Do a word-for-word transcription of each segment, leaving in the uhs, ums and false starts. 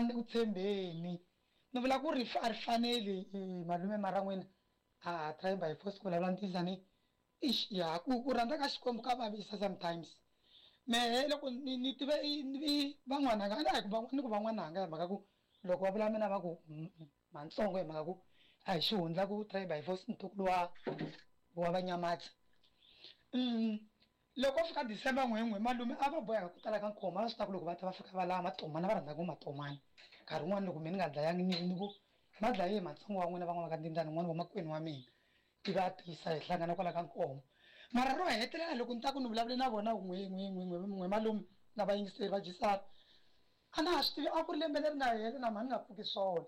A ni le ku tshembeni. Ni vula ku rifu a ri faneli malume mara n'wina a try by force ku vulavula ntiyiso ni ixi ya ku ku rhandza ka Xikwembu ka vavisa sometimes. Mehe loko ni ni tive i van'wananga a ni a hi ku ni ku van'wananga hi mhaka ku loko va vula mina va ku matsongo hi mhaka ku a hi xihundla ku try by force ntukulu wa wa vanyamatsi. Loko fika December n'we n'we malume a va boheka ku tala ka nkhomo a va swi tiva ku loko va ta va fika va lava matomana va rhandza ku matomana nkarhi wun'wani loko mina ni nga dlayangi ni ni ku ma dlaye hi matsongo wa n'wina van'wana va ka ndindzani n'wana wa makwenu wa mina ivi a tisa hi hlangana kwala ka nkomo mara ro hetelela loko ni ta ku ni vulavule na vona n'we n'we n'we n'we n'we malume na vayingiseri va Jisara a na ha swi tivi a ku ri lembe leri nga hela na mhani nga pfuki swona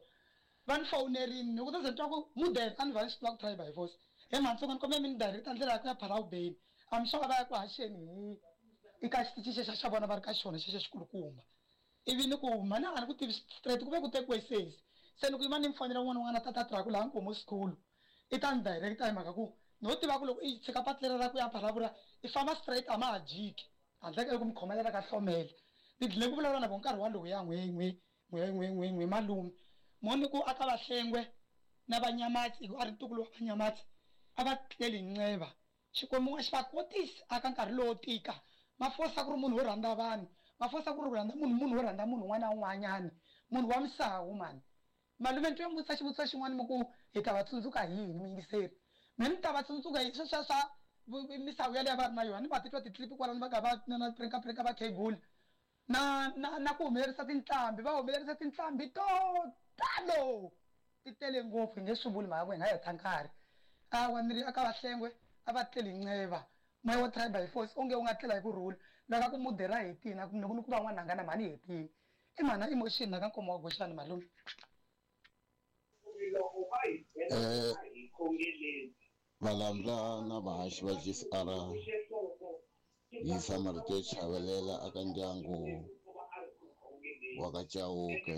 va ni fowunerini loko to ze ni twa ku mudende a ni va ni swi tiva ku try by force he matsongo ni kombela mi ni direct ndlela ya ku ya Phalawubeni I'm sure va ya ku haxeni hi eka xitichi xexo xa vona va ri ka xona xexo xikulukumba ivi ni ku mhani a ni ku tivi straight ku ve ku tekiwe sesi se ni ku yima ni mi fonela un'wana un'wana tata truck laha Nkomo school i ta ni direct hi mhaka ku no tiva ku loko i tshika patu leri ra ku ya Phalavula i famba straight a ma ha jiki handle ka loko mi khomelela ka hlomela ni dlile ku vulavula na vona nkarhi walowu ya n'we n'we n'we n'we n'we n'we malume mo ni ku aka Vahlengwe na Vanyamatsi hi ku a ri ntukulu wa Vanyamatsi a va tleli nceva Xikwembu a xi va kotisi aka nkarhi lowo tika Mafosa ku ri munhu wo rhandza vanhu Mafosa ku ri ku rhandza munhu munhu wo rhandza munhu un'wana na un'wanyana munhu wa misawu mani malume ni twe mi vutisa xivutiso xin'wana mi ku hi ta va tsundzuka hi yini muyingiseri me ni ta va tsundzuka hi sweswiya swa misawu yaleyo va ri na yona ni va titwa ti-clip kwalano va ka va na prinka prinka va khegula na na na ku humelerisa tinqambi va humelerisa tinqambi to talo ti tele ngopfu hi nge swi vuli mhaka ku hi nga heta nkarhi awa ni ri aka Vahlengwe a va tleli nceva moya wa try by force onge u nga tlela hi ku rhula loko ku mudera hetini a ku ni ku van'wana na mhani hetini i mhana emotion na ka nkomo wa goxani malume. Eh valandla na vahaxi va G C R yisa marito yo chavelela aka ndyangu wa ka Chauke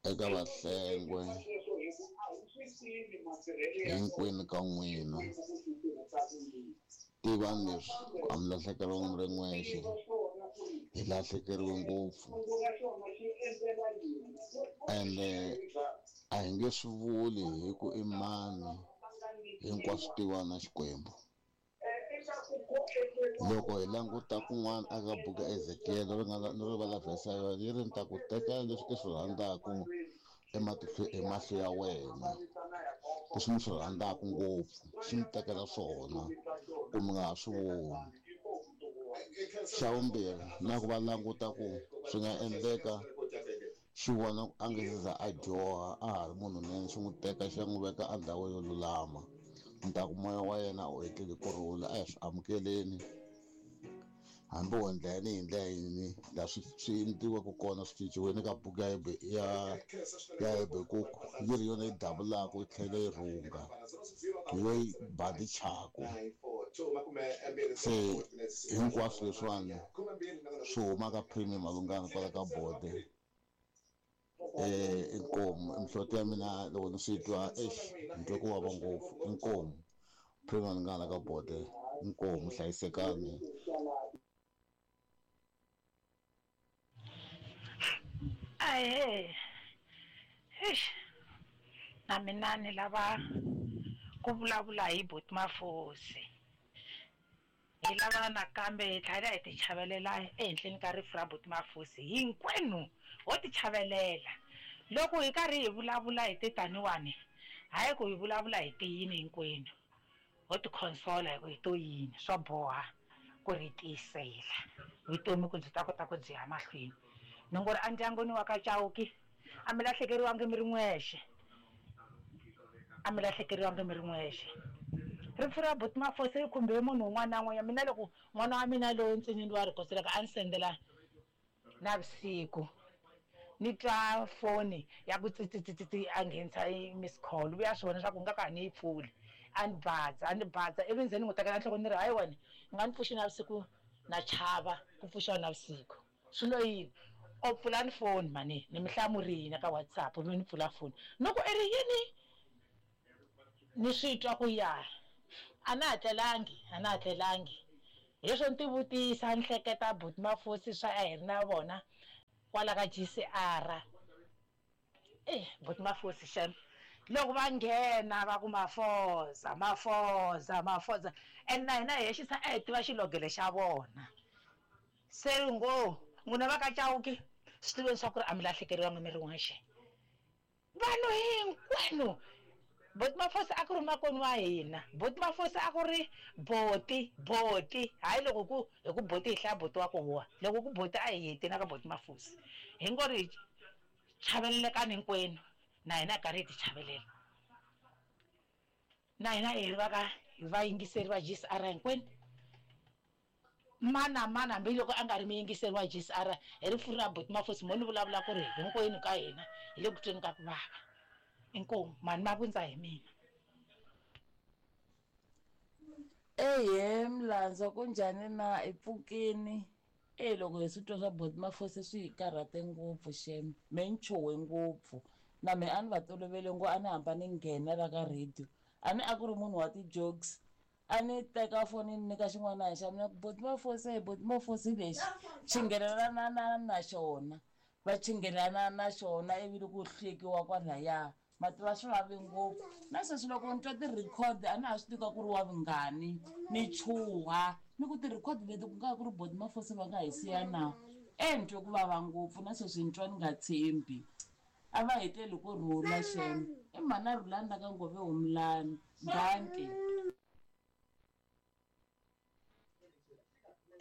eka Vahlengwe hinkwenu ka n'wina tivani leswi ku a mi lahlekeriwangi mi ri n'wexe hi lahlekeriwe ngopfu ende a hi nge swi vuli hi ku i mani hinkwaswo tiva na Xikwembu. Loko hi languta kun'wana aka buku ya Ezekiel ri nga ni rivala verse ya yona yi ri ni ta ku tekela leswi i swi rhandzaka ematihlweni hi mahlo ya wena leswi mi swi rhandzaka ngopfu xi mi tekela swona ku mi nga ha swi voni. Xa vumbirhi na ku va languta ku swi nga endleka xi vona ku a nge se za a dyoha a ha ri munhu nene xi n'wi teka xi ya n'wi veka endhawini yo lulama ni ta ku moya wa yena u etlele ku rhula a hi swi amukeleni hambi wo endla yini hi ndlela yini laha swi swi endliweke kona swi cinciwile ka buku ya ya ya Habakkuk yi ri yona yi davulaka yi tlhela yi rhunga hi yo yi bandichaku se hinkwaswo leswiwani swi huma ka premium malungana kwala ka bode eh inkomu mihloti ya mina loko ni swi twa eish ni twa ku vava ngopfu inkomu premium malungana ka bode inkomu hlayisekani. Ahe eish na mina ni lava ku vulavula hi Buti Mafosi hi lava nakambe hi tlhela hi ti chavelela ehenhleni ka rifu ra Buti Mafosi hinkwenu ho ti chavelela loko hi karhi hi vulavula hi titaniwani hayi ku hi vulavula hi tiyini hinkwenu ho ti consola hi ku hi to yini swa boha ku ri tiyisela vutomi ku byi ta kota ku byi ya mahlweni ni ngo ri endyangwini wa ka Chauke a mi lahlekeriwangi mi ri n'wexe a mi lahlekeriwangi mi ri n'wexe rifu ra Buti Mafosi ri khumbe munhu un'wana na un'wanyana mina loko n'wana wa mina loyi ntsinini wa rikoselaka a ni sendela navusiku ni twa foni ya ku tsitsitsitsi a nghenisa miss call vuya swi vona swa ku nga ka ni yi pfuli a ni badza a ni badza ivi nze ni n'wi tekela nhloko ni ri hayi wena ni nga ni pfuxi navusiku na chava ku pfuxiwa navusiku swi lo yini o pfula ni foni mani ni mi hlamurile ka WhatsApp mi ni pfula foni ni ku i ri yini ni swi twa ku ya a na ha tlelangi a na ha tlelangi hi leswo ni ti vutisa ni hleketa Buti Mafosi swa a hi ri na vona Kwala ka G C R. Eh, Buti Mafosi xem. Loko va nghena va ku Mafoza, Mafoza, Mafoza. And na hina hi hexisa a hi tiva xilogelo xa vona. Se ngo, n'wina va ka Chauke, swi tiveni swa ku ri a mi lahlekeriwanga mi ri n'wexe. Vanhu hinkwenu. Buti Mafosi a ku ri makwenu wa hina. Buti Mafosi a ku ri boti, boti. Hayi loko ku hi ku boti hi hlaya boti wa ku huwa. Loko ku boti a hi heti na ka Buti Mafosi. Hi ngo ri chavelelekani hinkwenu. Na hina hi karhi hi ti chavelela. Na hina hi va ka hi vayingiseri va G C R hinkwenu. Mana mana hambi loko a nga ri muyingiseri wa G C R hi rifu ra Buti Mafosi mo ni vulavula ku ri hinkwenu ka hina hi le ku tweni ka ku vava. Inkomu mani ma vundza hi mina. Ehe Mlandza kunjhani na i pfukini? Eh loko hi swi twa swa Buti Mafosi swi hi karhate ngopfu xem. Me ni chuhe ngopfu. Na me a ni va tolovele ngo a ni hamba ni nghena la ka radio. A ni a ku ri munhu wa ti-jokes. A ni teka foni ni nyika xin'wana xa mina ku Buti Mafosi, Buti Mafosi lexi chinghelelana na na xona. Va chinghelana na xona ivi ku hlekiwa kwalaya. Mativa swi vave ngopfu. Na sweswi loko ni twa ti-record a na ha swi tiva ku ri wa vungani. Ni chuha. Ni ku ti-record leti ku nga ku ri Buti Mafosi va nga hi siya na. E ni twe ku vava ngopfu na sweswi ni twa ni nga tshembi. A va heteli ku rhula xem. I mhana Rhulani la ka Ngove Humulani. Dankie.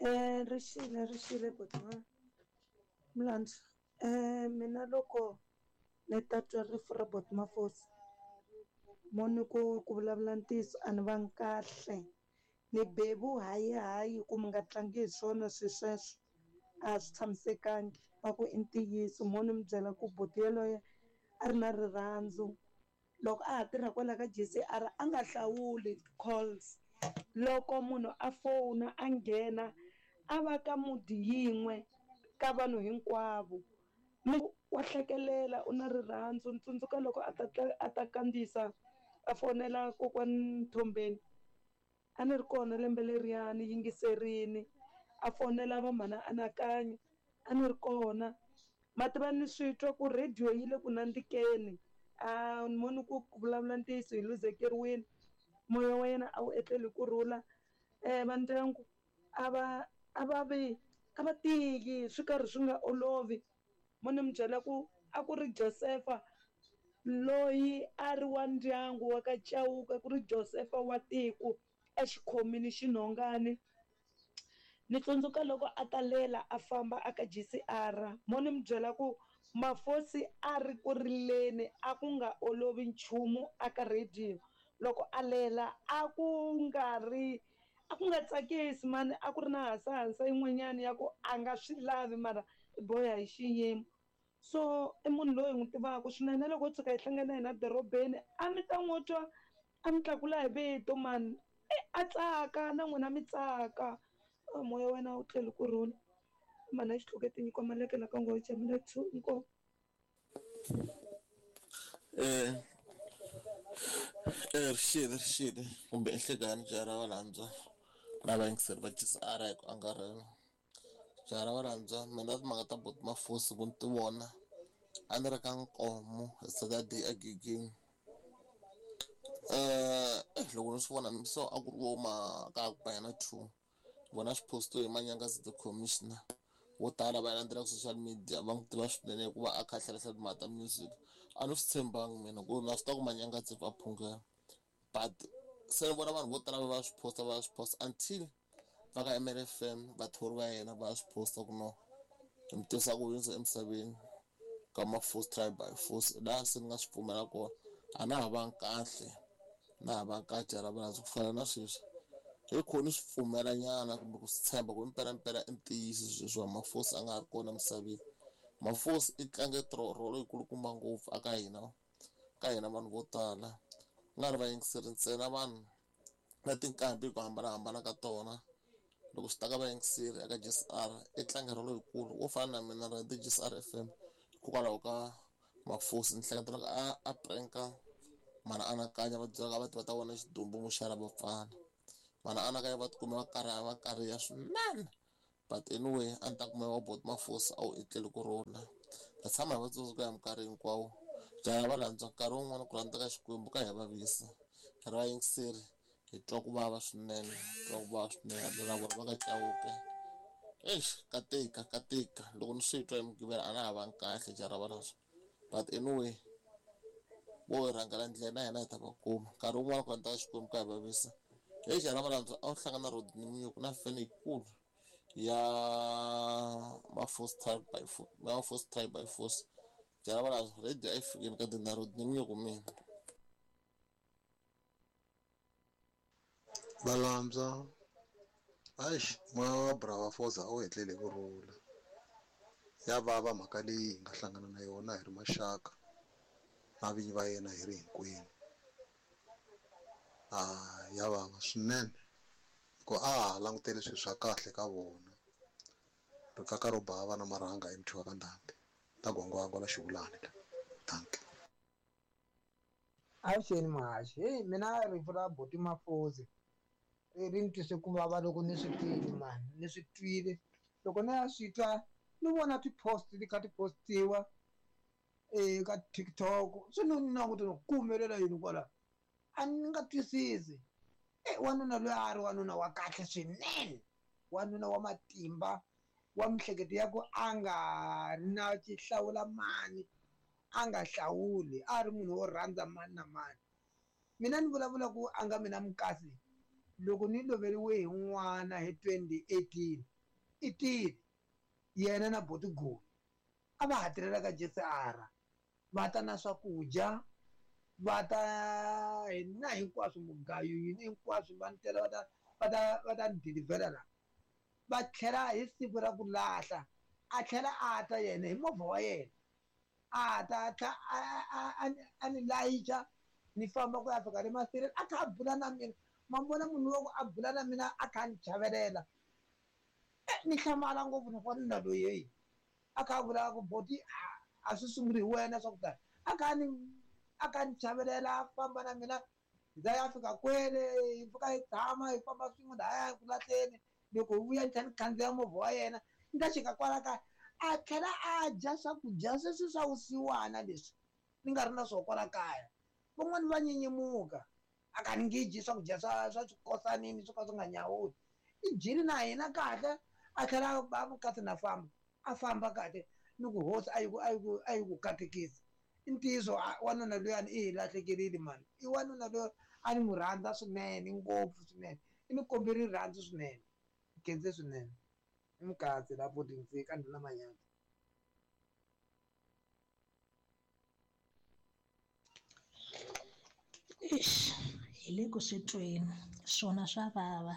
Eh rixile rixile Buti Mlandza. Eh mina loko ni ta twa rifu ra Buti Mafosi mo ni ku ku vulavula ntiyiso a ni vangi kahle. Ni bevu hayi hayi ku mi nga tlangi hi swona swi sweswo a swi tshamisekangi va ku i ntiyiso mo ni mi byela ku buti yaloye a ri na rirhandzu loko a ha tirha kwala ka G C R a nga hlawuli calls loko munhu a fona a nghena a va ka mudi yin'we ka vanhu hinkwavo wa hlekelela u na rirhandzu ni tsundzuka loko a ta a ta kandziyisa a fonela kokwani Mthombeni a ni ri kona lembe leriyani yingiserini a fonela va mhana Anakanyo a ni ri kona ma tiva ni swi twa ku radio yi le ku nandzikeni a ni moni ku ku vulavula ntiyiso hi luzekeriwile moya wa yena a wu etleli ku rhula um va ndyangu a va a va vi a va tiki swi karhi swi nga olovi mo ni mi byela ku a ku ri Josefa loyi a ri wa ndyangu wa ka Chauke ku ri Josefa wa tiko exikhomini xinhongani ni tsundzuka loko a ta lela a famba a ka G C R mo ni mi byela ku Mafosi a ri ku rileni a ku nga olovi nchumu a ka radio loko a lela a ku nga ri a ku nga tsakisi mani a ku ri na hasahasa yin'wanyana ya ku a nga swi lavi mara i boha hi xiyimo so i munhu loyi hi n'wi tivaka swinene loko tshuka hi hlangana hina dorobeni a mi ta n'wi twa a mi tlakula hi vito mani a tsaka na n'wina mi tsaka moya wena wu tlheli ku rhula mana xitluketi nyiko maleke la ka ngo jamila two inkomu. Eh eh rixile rixile kumbe enhlekani jaha ra Valandza na vayingiseri va G C R hi ku angarhela jaha ra Valandza mina timhaka ta Buti Mafosi ku ni ti vona a ni ri ka Nkomo hi Saturday egigini eh loko ni swi vona so a ku ri vo ma ka ku ba yena two vona swi postiwe hi Manyangazi the commissioner vo tala va landzelaka social media va n'wi tiva swinene hikuva a kha a hlalahla timhaka ta music a ni swi tshembangi mina ku na swi tiva ku Manyangazi va phungela but se ni vona vanhu vo tala va va swi posta va swi posta until va ka M L F M vathori va yena va swi posta ku no hi mi tivisa ku hundza emisaveni ka Mafosi tribe by force laha se ni nga swi pfumela kona a na ha vangi kahle na ha vangi kahle jaha ra Valandza ku fana na sweswi hi khoni swi pfumela nyana kumbe ku swi tshemba ku impela impela i ntiyiso sweswi wa Mafosi a nga ha ri kona emisaveni. Mafosi i tlange rolo yikulukumba ngopfu aka hina ka hina vanhu vo tala ku nga ri vayingiseri ntsena vanhu na tinqambi hi ku hambanahambana ka tona loko swi ta ka vayingiseri eka G C R i tlange rolo yikulu wo fana na mina ra G C R F M hikokwalaho ka Mafosi ni hleketa loko a a prank-a mana Anakanya va byela va va ta vona xidumbu muxara va pfala mana Anakanya va tikuma va karhi va kariha swinene But anyway, a ni ta ku moya wa Boti Mafosi a wu etleli ku rhula. Ta tshama hi va tsundzuka hi minkarhi hinkwawo. Byala va rhandza nkarhi wun'wani ku rhandza ka Xikwembu ka hi vavisa. Hi ri vayingiseri hi twa ku vava swinene, hi twa ku vava swinene na vona va ka Chauke. Eish, ka tika, ka tika. Loko ni swi twa hi Mugqivela a na ha vangi kahle jara va rhandza. But anyway, vo hi rhangela ndlela na hina hi ta va kuma. Nkarhi wun'wani ku rhandza ka Xikwembu ka hi vavisa. Hey jara va rhandza a wu hlangana na Rodney Munyuku na fene yikulu ya Mafosi tribe by force, Mafosi tribe by force. Jara va rhandza radio a yi fikile ka na Rodney Munyuku mina. Valambya eish moya wa Brava Foza a wu etlele ku rhula. Ya vava mhaka leyi hi nga hlangana na yona hi ri maxaka na vinyi va yena hi ri hinkwenu. Ah, ya vava swinene hikuva a ha langutele swilo swa kahle ka vona. Rikaka ro bava na marhanga hi muthiwa ka ndhambi ta gwangwangwa la xivulani la. Dankie. Avuxeni Muhaxi, heyi mina rifu ra Boti Mafosi ri ni twise ku vava loko ni swi twile mani, ni swi twile loko ni ya swi twa ni vona ti-post ti kha ti postiwa eka TikTok swi ni languta ni ku humelela yini kwala a ni nga twisisi. E wanuna loyi a ri wanuna wa kahle swinene, wanuna wa matimba wa miehleketo ya ku a nga ri na xihlawula mani, a nga hlawuli, a ri munhu wo rhandza mani na mani. Mina ni vulavula ku a nga mina mukasi loko ni loveriwe hi n'wana hi twenty eighteen i tile yena na Boti Goli a va hatirhela ka J C R va ta na swakudya va ta na hinkwaswo mugayo yini hinkwaswo va ni tela va ta va ta va ta ni dilivhela la va tlhela hi siku ra ku lahla a tlhela a ta yena hi movha wa yena a ta tlha a a ni layicha ni famba ku ya fika le masirheni a kha a bula na mina. Ma vona munhu wa ku a bula na mina a kha a ni chavelela ni hlamala ngopfu ni wanuna loyi heyi a kha a vula ku Boti a swi sunguli hi wena swa ku tani a kha ni a kha ni chavelela a famba na mina hi za ya fika kwele hi fika hi tshama hi famba swin'we lahaya ku lahleni loko hi vuya ni tlhela ni khandziya movha wa yena ni ta xika kwala kaya a tlhela a dya swakudya sweswi swa vusiwana leswi ni nga ri na swona kwala kaya. Van'wani va nyenyemuka a ka ni nge dyi swakudya swa swa swikosanini swo ka swi nga nyawuli. I dyile na hina kahle a tlhela a mukati na famba a famba kahle ni ku hosi a yi ku a yi ku a yi ku katekisa. I ntiyiso wanuna luyani i hi lahlekerile mani, i wanuna loyi a ni n'wi rhandza swinene ngopfu swinene, i ni kombe rirhandzu swinene, khense swinene. I mukatsi la Boti ka ndhuna Manyanza. Eish, hi le ku swi tweni swona swa vava.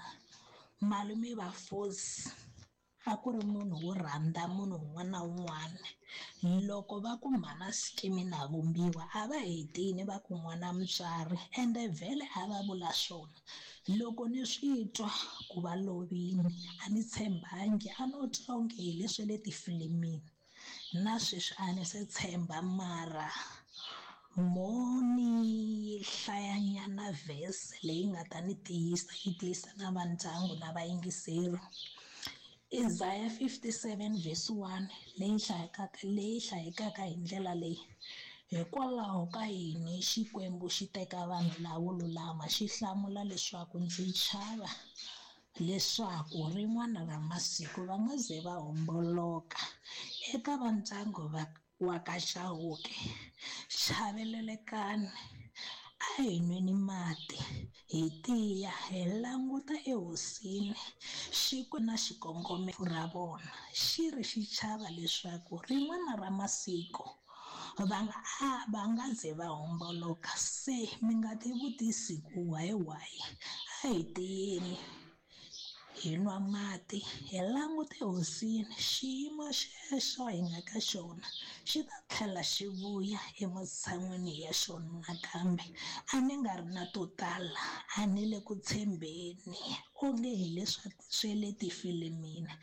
Malume va Fosi a ku ri munhu wo rhandza munhu un'wana na un'wana. Loko va ku mhana Skimi na vumbiwa a va hetini va ku n'wana mutswari ende vhele a va vula swona. Loko ni swi twa ku va lovini a ni tshembangi, a no twa onge hi leswi le tifilimini na sweswi a ni se tshemba mara mo ni hlayanyana verse leyi nga ta ni tiyisa yi tiyisa na va ndyangu na vayingiseri. Isaiah fifty-seven verse one leyi hlayekaka leyi hlayekaka hi ndlela leyi: hikwalaho ka yini Xikwembu xi teka vanhu lavo lulama xi hlamula leswaku ndzi chava leswaku rin'wana ra masiku va nga ze va homboloka. Eka va ndyangu va wa ka Chauke, chavelelekani, a hi nweni mati hi tiya hi languta ehosini. Xikwembu na xikongomelo ra vona xi ri xi chava leswaku rin'wana ra masiku va nga a va nga ze va homboloka. Se mi nga tivutisi ku why why, a hi tiyeni hi nwa mati hi langute hosini. Xiyimo xexo hi nga ka xona xi ta tlhela xi vuya ematshan'wini ya xona nakambe. A ni nga ri na to tala, a ni le ku tshembeni onge hi leswi swe le tifilimini.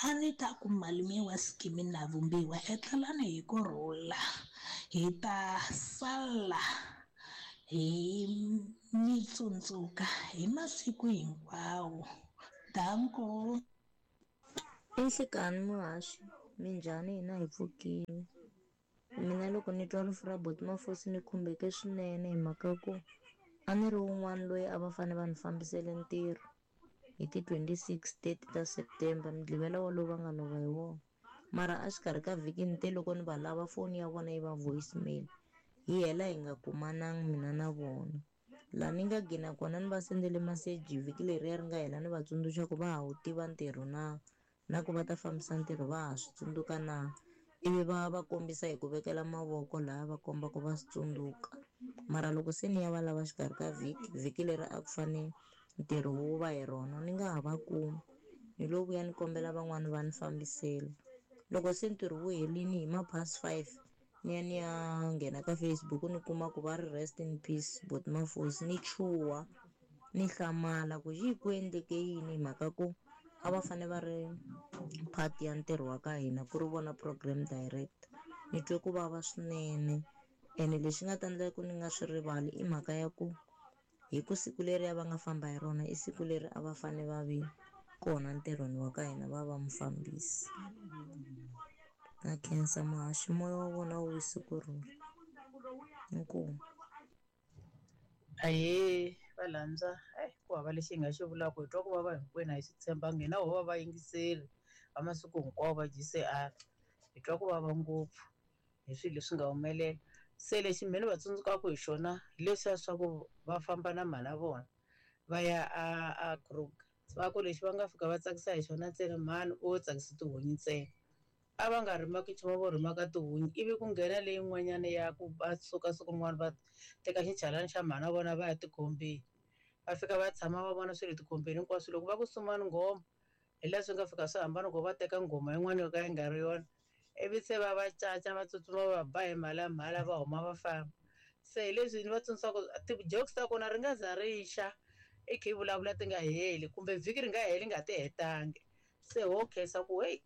A ni ta ku malume wa Skimi na vumbiwa etlelani hi ku rhula, hi ta sala hi mi tsundzuka hi masiku hinkwawo. Danko. I nhlikani muhaxi minjhani hina hi pfukile mina loko ni twa rifu ra Boti Mafosi ni khumbeke swinene hi mhaka ku a ni ri wun'wana loyi a va fanele va ni fambisele ntirho hi ti twenty-six thirty ta September mugqivela wolowo va nga lova hi wona mara a xikarhi ka vhiki ni te loko ni va lava foni ya vona yi va voicemail hi hela hi nga kumanangi mina na vona laha ni nga gina kona ni va sendele meseji vhiki leriya ri nga hela ni va tsundzuxa ku va ha wu tiva ntirho na na ku va ta fambisa ntirho va ha swi tsundzuka na ivi va va kombisa hi ku vekela mavoko laha va komba ku va swi tsundzuka mara loko se ni ya va lava xikarhi ka vhiki vhiki leri a ku fane ntirho wu va hi rona ni nga ha va kumi ni lo vuya ni kombela van'wani va ni fambisela loko se ntirho wu helini hi ma past five ni ya ni ya nghena ka Facebook ni kuma ku va ri rest in peace Boti Mafosi ni chuha ni hlamala ku xi ku endleke yini hi mhaka ku a va fane va ri part ya ntirho wa ka hina ku ri vona program director ni twe ku vava swinene ene lexi nga ta endla ku ni nga swi rivali i mhaka ya ku hi ku siku leri va nga famba hi rona i siku leri a va fane va vi kona ntirhweni wa ka hina va va mufambisi na khensa muhaxi moya wa vona wu wise kurhula inkomu. Ahee valandza hayi ku hava lexi hi nga xi vulaka hi twa ku vava hinkwenu a hi swi tshembangi hina ho va vayingiseri va masiku hinkwawo va G C R hi twa ku vava ngopfu hi swilo leswi nga humelela se lexi mina ni va tsundzukaka hi xona hi leswiya swa ku va famba na mhana vona va ya a a Kruger va ku lexi va nga fika va tsakisa hi xona ntsena mhani o tsakisa tihunyi ntsena a va nga rimaki nchumu vo rimaka tihunyi ivi ku nghena leyin'wanyana ya ku va suka siku rin'wana va teka xichalani xa mhana vona va ya tikhombeni va fika va tshama va vona swilo tikhombeni hinkwaswo loko va ku sumani nghoma hi laha swi nga fika swi hambana ku va teka nghoma yin'wana yo ka yi nga ri yona ivi se va va caca va tsutsuma va ba hi mhalamhala va huma va famba se hi leswi ni va tsundzuxaka ti-jokes ta kona ri nga za ri xa i kha i vulavula ti nga heli kumbe vhiki ri nga heli nga ti hetangi se ho khensa ku heyi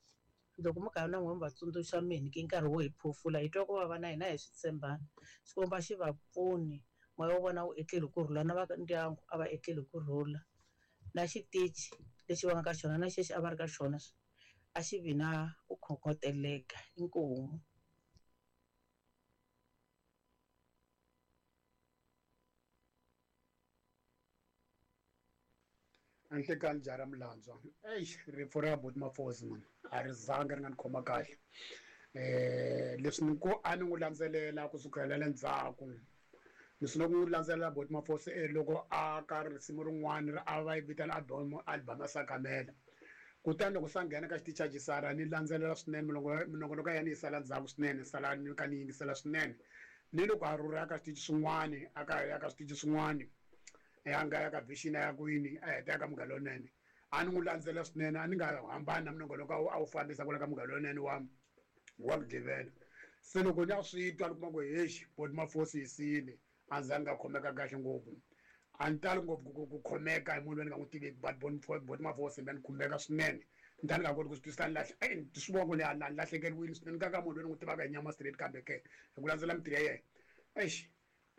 loko mi karhi na n'wina mi va tsundzuxa mi hi nyike nkarhi wo hi phofula hi twa ku vava na hina hi swi tshembana Xikwembu a xi va pfuni moya wa vona wu etleli kurhula na va ndyangu a va etleli kurhula na xitichi lexi va nga ka xona na xexi a va ri ka xona a xi vi na ku khokhoteleka inkomu. Nhlikani jara Mlandzwa eish rifu ra Boti Mafosi man a ri zanga ri nga ni khoma kahle eh leswi ni ku a ni n'wi landzelela kusukela le ndzhaku ni sungule ku n'wi landzelela Boti Mafosi e loko a ka risimu rin'wana ri a va yi vitana album album ya Sakamela kutani loko sa nghena ka xitichi xa Jisara ni landzelela swinene minongonoko ya yena yi sala ndzhaku swinene sala ni ka ni yingisela swinene ni loko a rhurha ka xitichi swin'wani a ka ya ka switichi swin'wani ya nga ya ka vision ya kwini a heta ya ka Munghana Lonene a ni n'wi landzela swinene a ni nga hambani na minongonoko a wu fambisa kwala ka Munghana Lonene wa wa Mugqivela se loko ni ya swi twa ni kuma ku hexi Boti Mafosi yi siyile a ndzi nga khomeka kahle ngopfu a ni tali ngopfu ku ku khomeka hi munhu loyi ni nga n'wi tiveki but Boti Mafosi ni khumbeka swinene ni ta ni nga koti ku swi twisisa ni lahle eyi swi vona ku ni ni lahlekeriwile swinene ka ka munhu loyi ni n'wi tivaka hi nyama straight kambe ke hi ku landzela mintirho ya yena exi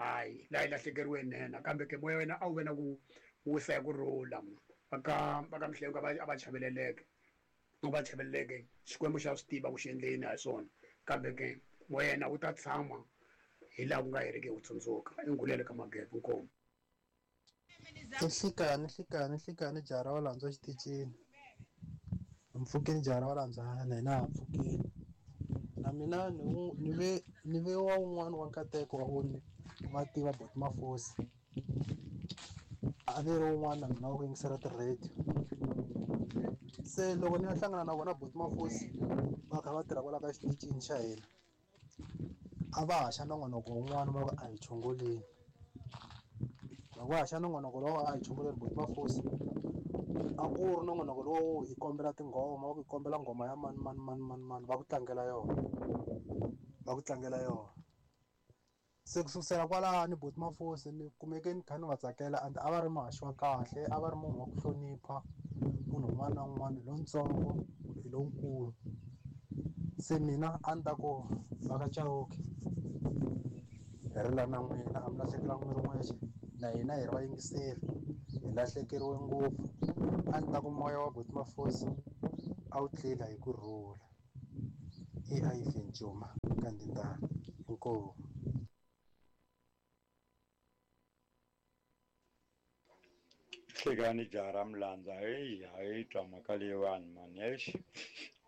hayi laha yi lahlekeriwe nene kambe ke moya wena a wu ve na ku wisa hi ku rhula va ka va ka Mihlengo a va chaveleleke a va chaveleleke Xikwembu xa swi tiva ku xi endleni ha swona kambe ke moya yena wu ta tshama hi laha ku nga heriki wu tsundzuka i ngulele ka Magebe inkomu. Nhlikani nhlikani nhlikani jara wa Landzwa xitichini mpfukeni jara wa Landzwa na hina ha pfukini na mina ni ni ve ni ve wa wun'wana wa nkateko wa ku ni va tiva Boti Mafosi a ni ri wun'wana na mina wa ku yingisela ti-radio se loko ni ya hlangana na vona Boti Mafosi va kha va tirha kwala ka xitichini xa hina a va haxa nongonoko wun'wana va ku a hi chongoleni loko va haxa nongonoko lowu a hi chongoleni Boti Mafosi a ku ri nongonoko lowu hi kombela tinghoma va ku hi kombela nghoma ya mani mani mani mani mani va ku tlangela yona va ku tlangela yona se ku sukusela kwalani Boti Mafosi ni kumeke ni kha ni va tsakela and a va ri muhaxi wa kahle a va ri munhu wa ku hlonipha munhu un'wana na un'wana hi lontsongo hi lonkulu se mina a ni ta ku va ka Chauke hi ri la na n'wina a mi lahlekelanga mi ri n'wexe na hina hi ri vayingiseri hi lahlekeriwe ngopfu a ni ta ku moya wa Boti Mafosi A wu tlela hi ku rhula. I Ivan Juma Kandindana. Inkomu. Hlekani jaha ra Mlandza, heyi a yi twa mhaka leyiwani mani, eish.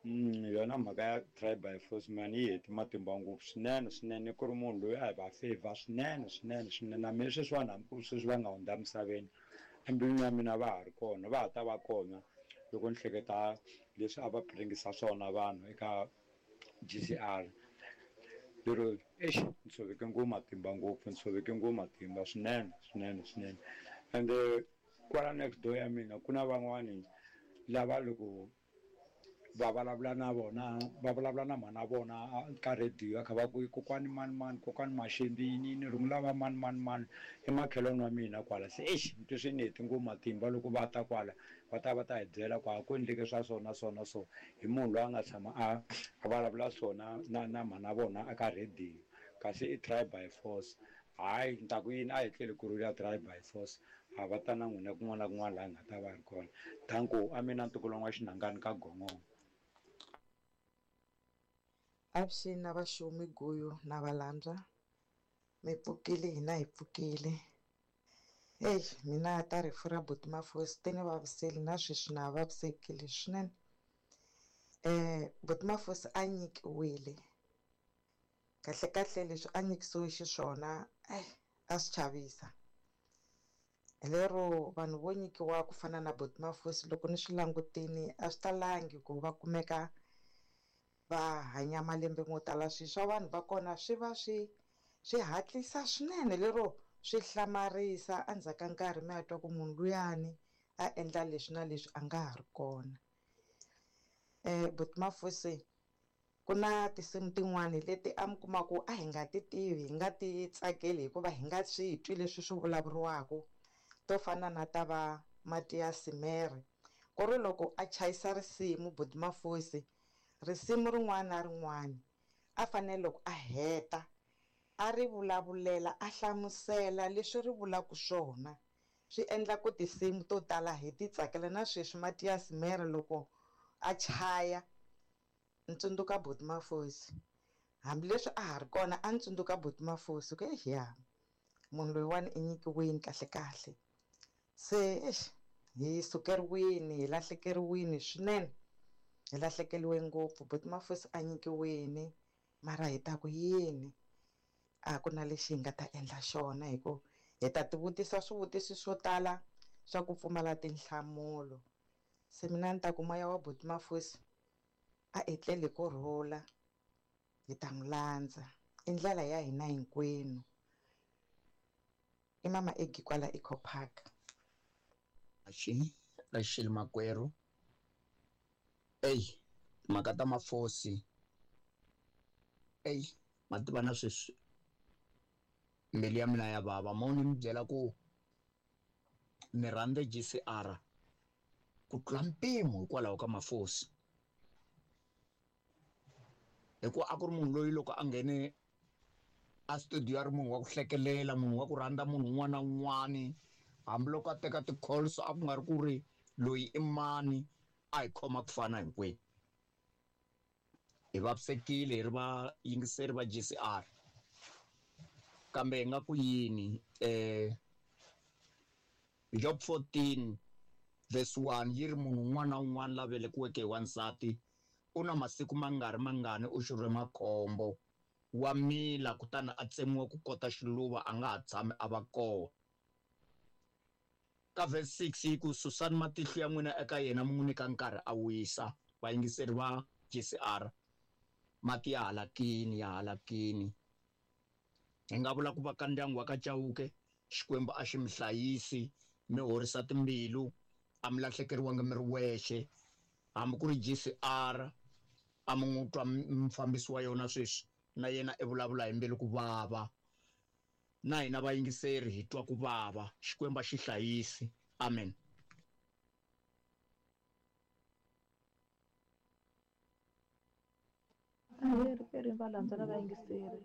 Mm, yona mhaka ya try by force man yi heti matimba ngopfu swinene swinene, ku ri munhu loyi a hi va favor swinene swinene swinene. Na mina sweswiwani hambi ku ri sweswi va nga hundza emisaveni, embilwini ya mina va ha ri kona, va ha ta va kona loko ni hleketa leswi a va piringisa swona vanhu eka G C R. Lero eish, ni tshoveke ngopfu matimba ngopfu, ni tshoveke ngopfu matimba swinene swinene swinene. Ende kwala next door ya mina ku na van'wani lava loko va vulavula na vona, va vulavula na mhana vona ka radio, va kha va ku kokwani mani mani, kokwani Maxembi yini yini, rungula va mani mani mani emakhelwani wa mina kwala. Se eish, ni twe swi ni heti ngopfu matimba loko va ta kwala, va ta va ta hi byela ku a ku endleke swa so na so na so hi munhu loyi a nga tshama a a vulavula swona na na mhana vona eka radio, kasi i try by force. Hayi, ni ta ku yini, a hi tleli ku rhula try by force, a va ta na n'wina kun'wana na kun'wana laha hi nga ta va ri kona. Danko, a mina ntukulu wa Xinangani ka Gongongo. Avuxeni na vaxumi Guyu na Valandza, mi pfukile hina hi pfukile. Hey, mina ta rifu ra buti Mafosi ti ni vaviseli na sweswi na vavisekile swinene. Eh, buti Mafosi a nyikiwile. Kahle kahle leswi a nyikisiwe xiswona, eh, a swi chavisa. Lero vanhu vo nyikiwa ku fana na buti Mafosi loko ni swi langutini a swi talangi ku va kumeka va hanya malembe mo tala. Swilo swa vanhu va kona swi va swi swi hatlisa swinene, lero swi hlamarisa endzhaku ka nkarhi mi ya twa ku munhu luyani a endla leswi na leswi a nga ha ri kona. Eh, buti Mafosi ku na tinsimu tin'wani leti a mi kuma ku a hi nga ti tivi, hi nga ti tsakeli hikuva hi nga swi twi leswi swi vulavuriwaka, to fana na ta va Matias Mere. Ku ri loko a chayisa risimu buti Mafosi, risimu rin'wana na rin'wana a fanele loko a heta a ri vulavulela, a hlamusela leswi ri vulaka swona, swi endla ku tinsimu to tala hi ti tsakela. Na sweswi Matias Mere loko a chaya ni tsundzuka buti Mafosi, hambileswi a ha ri kona a ni tsundzuka buti Mafosi ku eya munhu loyiwani i nyikiwini kahle kahle. Se eish, hi sukeriwini, hi lahlekeriwini swinene, hi lahlekeriwe ngopfu. Buti Mafosi a nyikiwini, mara hi ta ku yini, a ku na lexi hi nga ta endla xona, hi ku hi ta tivutisa swivutiso swo tala swa ku pfumala tinhlamulo. Se mina ni ta ku moya wa buti Mafosi a etlele ku rhula, hi ta n'wi landza, i ndlela ya hina hinkwenu. I mama Egi kwala Eco Park. Axi, Rachel makwerhu. Ey, timhaka ta Mafosi. Ey, ma tiva na sweswi mbilu ya mina ya vava. Mo ni mi byela ku ni rhandze G C R ku tlula mpimo hikwalaho ka Mafosi. Hikuva a ku ri munhu loyi loko a nghene a studio a ri munhu wa ku hlekelela, munhu wa ku rhandza munhu un'wana na un'wana, hambiloko a teka ti-calls a ku nga ri ku ri loyi i mani, a hi khoma ku fana hinkwenu. Hi vavisekile hi ri vayingiseri va G C R, kambe hi nga ku yini, eh, Job fourteen verse one yi ri munhu un'wana na un'wana la velekiweke hi wansati u na masiku mangari mangani u xurhe makhombo, wa mila kutani a tsemiwa ku kota xiluva, a nga ha tshami a va kona. Ka verse six yi ku susani matihlo ya n'wina eka yena mi n'wi nyika nkarhi a wisa. Vayingiseri va G C R, mati ya halakini, ya halakini. Hi nga vula ku va ka ndyangu wa ka Chauke, Xikwembu a xi mi hlayisi, mi horisa timbilu, a mi lahlekeriwanga mi ri wexe. Hambi ku ri G C R a mi n'wi twa mufambisi wa yona sweswi, na yena i vulavula hi mbilu ku vava. Na hina vayingiseri hi twa ku vava. Xikwembu a xi hlayisi. Amen. Ahee riperini valandza na vayingiseri.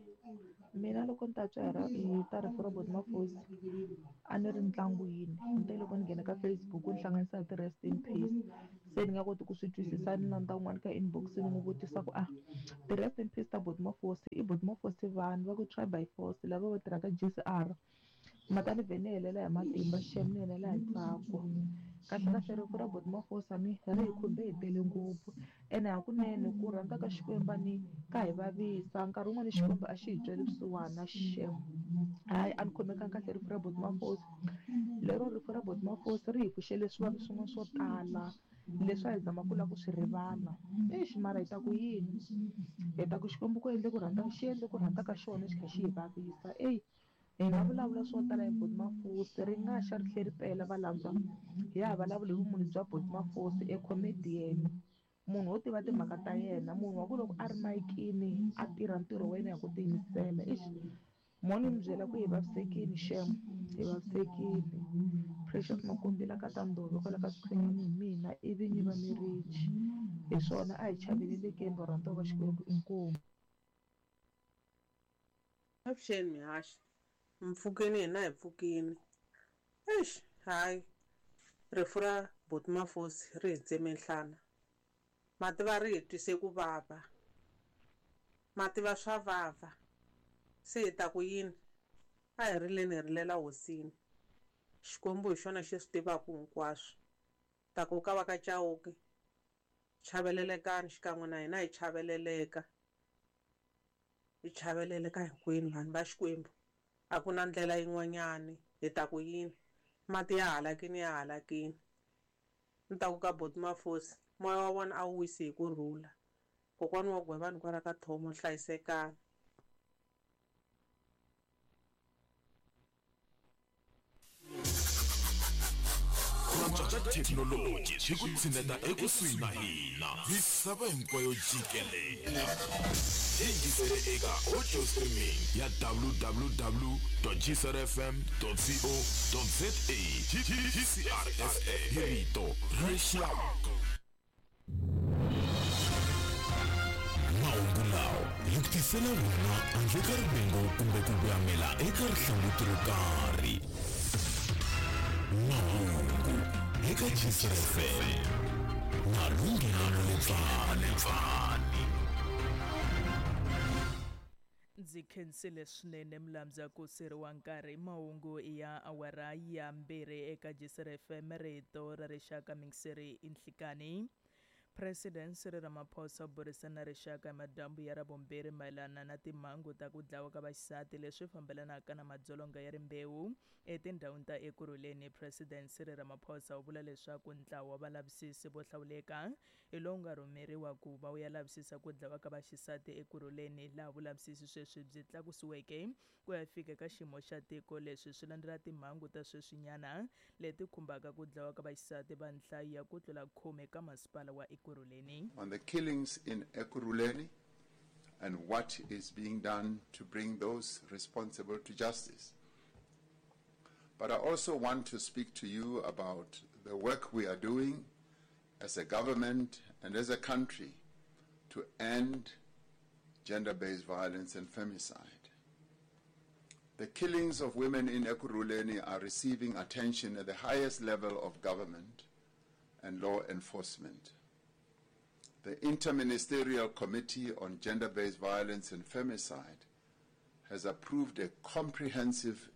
Mina loko ni ta twa hi ra hi ta rifu ra Buti Mafosi a ni ri ntlangwini ni te loko ni nghena ka Facebook ni hlanganisa hi ti-rest in peace se ni nga koti ku swi twisisa ni landza un'wana ka inbox ni n'wi vutisa ku a ti-rest in peace ta Buti Mafosi i Buti Mafosi vanhu va ku try by force lava va tirhaka G C R mhaka ni vhe ni helela hi matimba xem ni helela hi ntsako kahle kahle rifu ra Buti Mafosi ni ri hi khumbe hi tele ngopfu ene hakunene ku rhandza ka Xikwembu ni ka hi vavisa nkarhi wun'wani Xikwembu a xi hi tweli vusiwana xem hayi a ni khomekanga kahle rifu ra Buti Mafosi lero rifu ra Buti Mafosi ri hi pfuxele swivavi swin'wana swo tala leswi a hi zama ku lava ku swi rivala exi mara hi ta ku yini hi ta ku Xikwembu ku endle ku rhandza xi endle ku rhandza ka xona xi kha xi hi vavisa eyi hi nga vulavula swo tala hi Buti Mafosi ri nga xa ri tlhe ri pela valandzwa hi ya ha vulavuli hi vumunhu bya Buti Mafosi e comedian munhu wo tiva timhaka ta yena munhu wa ku loko a ri mayikini a tirha ntirho wa yena hi ku tiyimisela exi mo ni mi byela ku hi vavisekile xem hi vavisekile Precious Makumbila ka ta Ndove kwala ka Swikhwenyani hi mina i vinyi va Mirichi hi swona a hi chavelelekeni varhandziwa va Xikwembu inkomu. Avuxeni mihaxi mpfhukeni hina hi pfukini eish hayi rifu ra Buti Mafosi ri hi tseme nhlana mativa ri hi twise ku vava mativa swa vava se hi ta ku yini a hi rileni hi rilela hosini Xikwembu hi xona xi swi tivaka hinkwaswo ta ku ka va ka Chauke chavelelekani xikan'we na hina hi chaveleleka hi chaveleleka hinkwenu vanhu va Xikwembu a ku na ndlela yin'wanyani hi ta ku yini mati ya halakini ya halakini ni ta ku ka Buti Mafosi moya wa vona a wu wisi hi ku rhula kokwana wa Gwevani kwala ka Thomo hlayisekani. Ku antswa ka thekinoloji swi ku tshineta ekusuhi na hina misava hinkwayo jikelele yingisele eka audio streaming ya w w w dot g c r f m dot co dot z a G C R F M hi rito ra rixaka. Mahungu lawa hi ku tisela wona handle ka rivengo kumbe ku voyamela eka rihlanguti ro karhi. Mahungu eka G C R F M na Lunghelo Lepfani. Ndzi khensile swinene Mlamza ku siriwa nkarhi mahungu ya awara ya mbirhi eka G C R F M rito ra rixaka mingiseri inhlikani. President Cyril Ramaphosa u burisana na rixaka hi madyambu ya Ravumbirhi mayelana na timhangu ta ku dlawa ka vaxisati leswi fambelanaka na madzolonga ya rimbewu etindhawini ta Ekurhuleni. President Cyril Ramaphosa u vula leswaku ntlawa wa valavisisi vo hlawuleka hi lowu nga rhumeriwa ku va wu ya lavisisa ku dlawa ka vaxisati Ekurhuleni, laha vulavisisi sweswi byi tlakusiweke ku ya fika ka xiyimo xa tiko. Leswi swi landzela timhangu ta sweswinyana leti khumbaka ku dlawa ka vaxisati va nhlayo ya ku tlula khume ka masipala wa Ekurhuleni. On the killings in Ekurhuleni and what is being done to bring those responsible to justice. But I also want to speak to you about the work we are doing as a government and as a country to end gender-based violence and femicide. The killings of women in Ekurhuleni are receiving attention at the highest level of government and law enforcement. The Interministerial Committee on Gender-Based Violence and Femicide has approved a comprehensive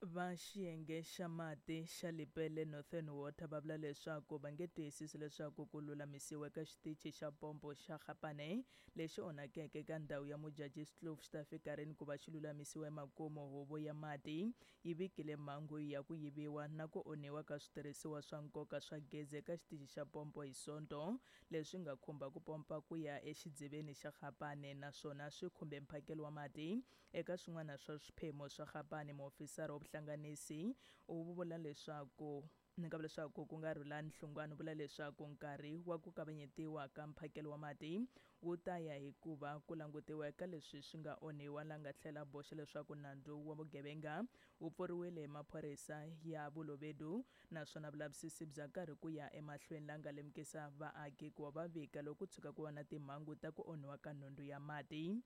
Va xiyenge xa mati xa Lepelle Northern Water va vula leswaku va nge tiyisisi leswaku ku lulamisiwa ka xitichi xa pompo xa Gapane lexi onhakeke ka ndhawu ya Modjadji Kloof xi ta fika rini ku va xi lulamisiwa emakumu. Huvo ya mati yi vikile mhangu ya ku yiviwa na ku onhiwa ka switirhisiwa swa nkoka swa gezi eka xitichi xa pompo hi Sonto, leswi nga khumba ku pompa ku ya exidziveni xa Gapane naswona swi khumbe mphakelo wa mati eka swin'wana swa swiphemu swa Gapane. Muofisara wa vuhlanganisi u vula leswaku Ni nga vula leswaku ku nga Rhulani Hlungwani vula leswaku nkarhi wa ku kavanyetiwa ka mphakelo wa mati wu ta ya hikuva ku langutiwa eka leswi swi nga onhiwa, la nga tlhela boxa leswaku nandzu wa vugevenga wu pfuriwile hi maphorisa ya Vulovedu naswona vulavisisi bya karhi ku ya emahlweni, la nga lemukisa vaaki ku va va vika loko ku tshuka ku va na timhangu ta ku onhiwa ka nhundzu ya mati.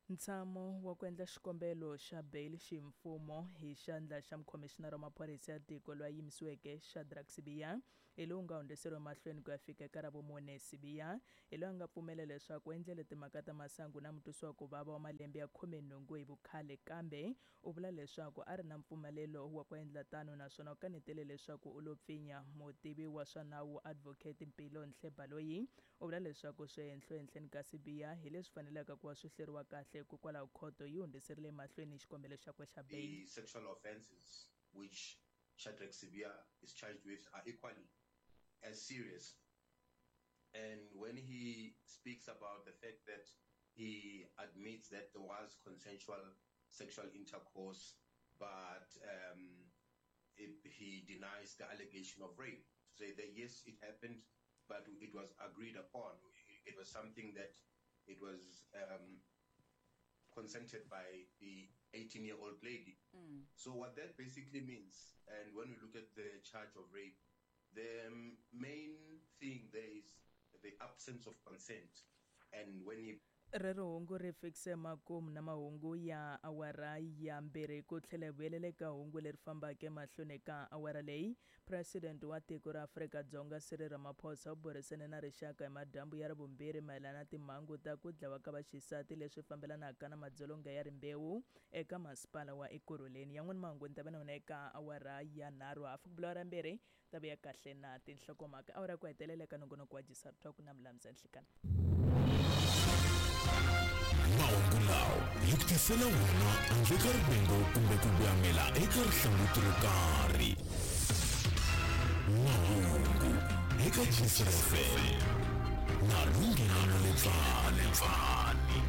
Ntshamo wa ku endla xikombelo xa bail ximfumo hi xandla xa mukhomishinara wa maphorisa ya tiko loyi a yimisiweke Shadrack Sibiya hi lowu nga hundziseriwa emahlweni ku ya fika eka Ravumune. Sibiya hi loyi a nga pfumela leswaku u endlele timhaka ta masangu na mutwisiwa ku vava wa malembe ya khumenhungu hi vukhale, kambe u vula leswaku a ri na mpfumelelo wa ku endla tano naswona u kanetele leswaku u lo pfinya. Mutivi wa swa nawu Advocate Mpilo Nhlebaloyi u vula leswaku swihenhlo ehenhleni ka Sibiya hi leswi faneleke ku va swi hleriwa kahle, hikokwalaho khoto yi hundziserile emahlweni xikombelo xakwe xa bail. The sexual offences which Shadrack Sibiya is charged with are equally as serious. And when he speaks about the fact that he admits that there was consensual sexual intercourse, but um, it, he denies the allegation of rape, to say that yes, it happened, but it was agreed upon. It was something that it was um, consented by the eighteen-year-old lady. Mm. So what that basically means, and when we look at the charge of rape, the main thing there is the absence of consent. And when he Rero hungu ri fikise makumu na mahungu ya awara ya mbirhi ku tlhela hi vuyelela eka hungu leri fambaka emahlweni ka awara leyi. President wa tiko ra Afrika-Dzonga Cyril Ramaphosa u burisane na rixaka hi madyambu ya Ravumbirhi mayelana na timhangu ta ku dlawa ka vaxisati leswi fambelanaka na madzolonga ya rimbewu eka masipala wa Ekurhuleni. Yan'wana mahungu ni ta va na wona eka awara ya nharhu hafu ku bula awara mbirhi ta vuya kahle na tinhlokomhaka. Awara ya ku hetelela eka nongonoko wa G S R Talk na Mlamza Nhlikana. Mahungu lawa hi ku tisela wona handle ka rivengo kumbe ku voyamela eka rihlanguti ro karhi. Mahungu eka G S R F M na Lunghelo Lepfani.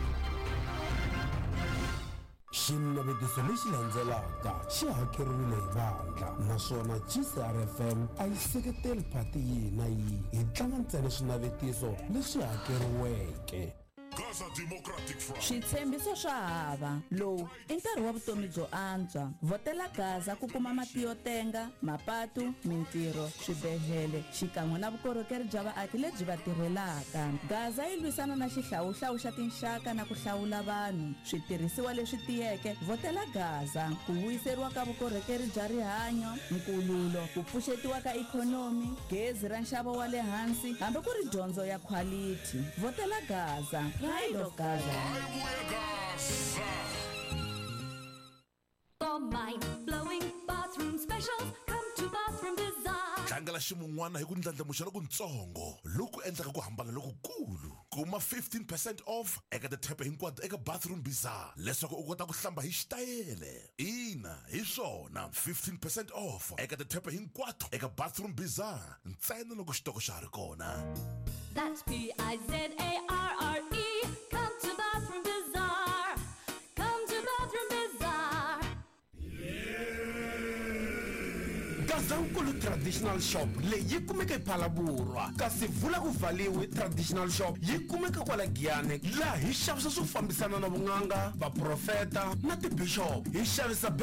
Xinavetiso lexi landzelaka xi hakeriwile hi vandla naswona G C R F M a yi seketeli phati yihi na yihi, hi tlanga ntsena swinavetiso leswi hakeriweke. Gaza Democratic Front. Switshembiso swa hava. Lowu i nkarhi wa vutomi byo antswa. Vhotela Gaza ku kuma mati yo tenga, mapatu, mintirho, swibedhlele xikan'we na vukorhokeri bya vaaki lebyi va tirhelaka. Gaza yi lwisana na xihlawuhlawu xa tinxaka na ku hlawula vanhu. Switirhisiwa leswi tiyeke, vhotela Gaza. Ku vuyiseriwa ka vukorhokeri bya rihanyo, nkululo, ku pfuxetiwa ka ikhonomi, gezi ra nxavo wa le hansi, hambi ku ri dyondzo ya quality. Vhotela Gaza. Pride of Gaza. For mind-blowing bathroom specials, come to Bathroom Bazaar. Tlangela ximun'wana hi ku ndlandlamuxa lokutsongo loku endlaka ku hambana lokukulu. Kuma fifteen percent off eka tithepe hinkwato eka Bathroom Bazaar leswaku u kota ku hlamba hi xitayele. Ina, hi swona, fifteen percent off eka tithepe hinkwato eka Bathroom Bazaar ntsena loko xitoko xa ha ri kona. That's P I Z A R R E. Come to Bathroom Bazaar. Come to Bathroom Bazaar. Gazankulu Traditional Shop leyi yi kumeka ePhalaborwa, kasi vula ku vhaliwe Traditional Shop yi kumeka kwala Giyani, laha hi xavisa swo fambisana na vun'anga, vaprofeta na tibishop. Hi xavisa